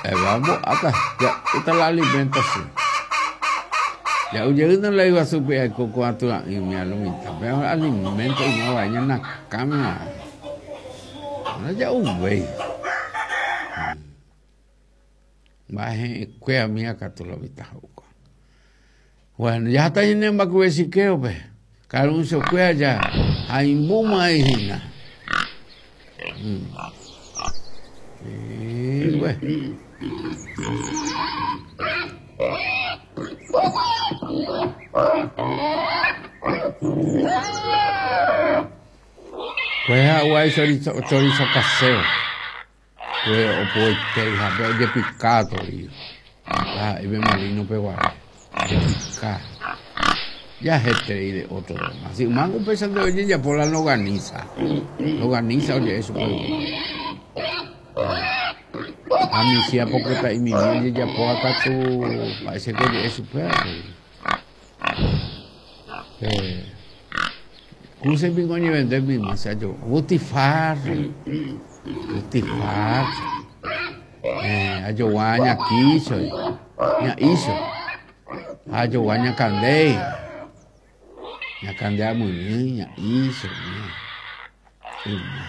Vamos ja'úta la alimentación. Ja'u jeýna la yguasúpe aiko ko aty'a'ỹ umi a lo mitad. Pe alimento yma vai ñane akãme g̃uarã. Ndaja'uvéi. Mba'e he'ẽkuéra umíva katu lo mitã ho'uka. Bueno, jaháta ñane mbakuve chikéope. Karunchokuéra ja haimbúma hína. Sí, bueno. Pues ha'u chorizo, chorizo casero. Pues opoite ha ojepika torío. Ha pe molino peguare. Ojepika. Ya heterei de otro tema. Si yma upéichante ojejapo la longaniza. Longaniza oje'e chupe. Ha michĩ apopyta'imimi ojejapóva katu mba'éichako oje'e chupe avei. Pe kúse piko oñevende mymba che ajo butifarra, butifarra. Eh, ajogua ñakícho, ña'ícho. Ha ajogua ñakandéi. Ñakande amyrỹi, ña'ícho. Yma.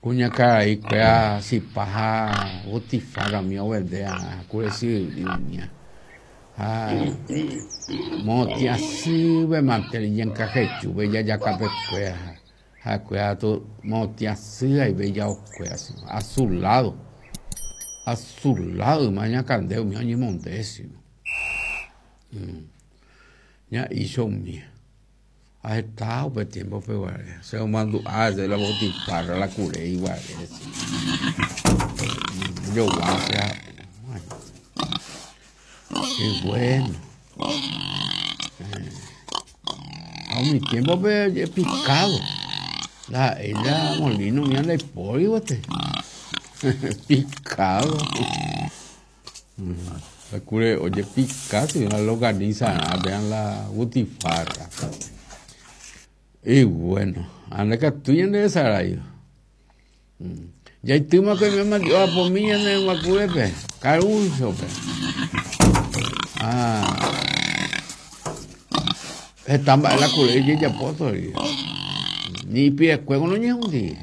Kuñakarai kuéra chipa ha butifarra umi ovende arã kuresy umía. Ha motĩ asýpe mante iñenkahechúpe ijajakapekuéra ha'ekuéra katu motĩ asy haive ijaokuéra azulado, azulado yma ñakande umi oñemonde chino. Ña'icho umía. Ha heta upe tiémpope guare. Che omandu'a hese la botifarra, la kure iguare. Jogua che ha'u. Qué bueno. Ha umi tiémpope picado. Ndaha'éi la molino umía ndaipóri guete. Picado. La kure ojepika si la longaniza vean la butifarra. Y bueno, ande katu ñande resarái. Jaitýma ko oime mandi'o apomi ñane guakurépe, Karúnchope. Ah. Heta mba'e la kure ojejapo todavía. Ni ipirekuévo noñehundi.